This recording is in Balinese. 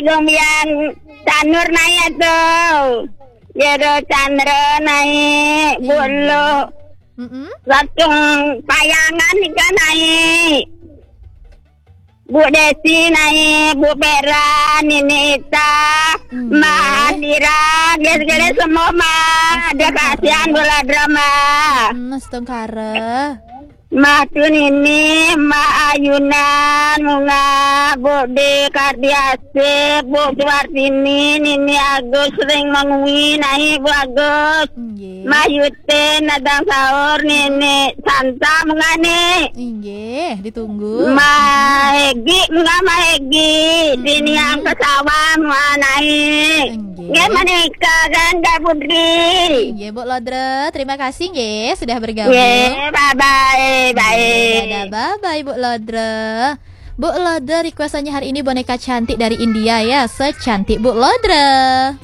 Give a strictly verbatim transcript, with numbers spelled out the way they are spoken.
Lumian Canur naik tu. Jero Chandra naik. Bulu. Mm-mm. Langsung payangan ika naik. Bu Desi naik, Bu Vera, Nini Ita, Hmm. Ma Andira, dia segala semua ma. Dia kasihan bola drama. Hmm, setengkara. Ma tu Nini, Ma Ayunan, Munga, Bu De Kardiasih, Bu Suartini, Nini Agus sering mengui naik Bu Agus. Nggih. Ma Yute, Nadang Saur, Nini Santa, Munga ni. Nggih, ditunggu. Ma Egi, Munga Ma Egi, Dini yang ke sawah, Munga naik. Nggih. Nggih menika kan Kak Putri. Nggih, Bu Lodra, terima kasih nggih sudah bergabung. Nggih, bye bye, bye. Dadah, bye bye Bu Lodra. Bu Lodra requestannya hari ini boneka cantik dari India ya, secantik Bu Lodra.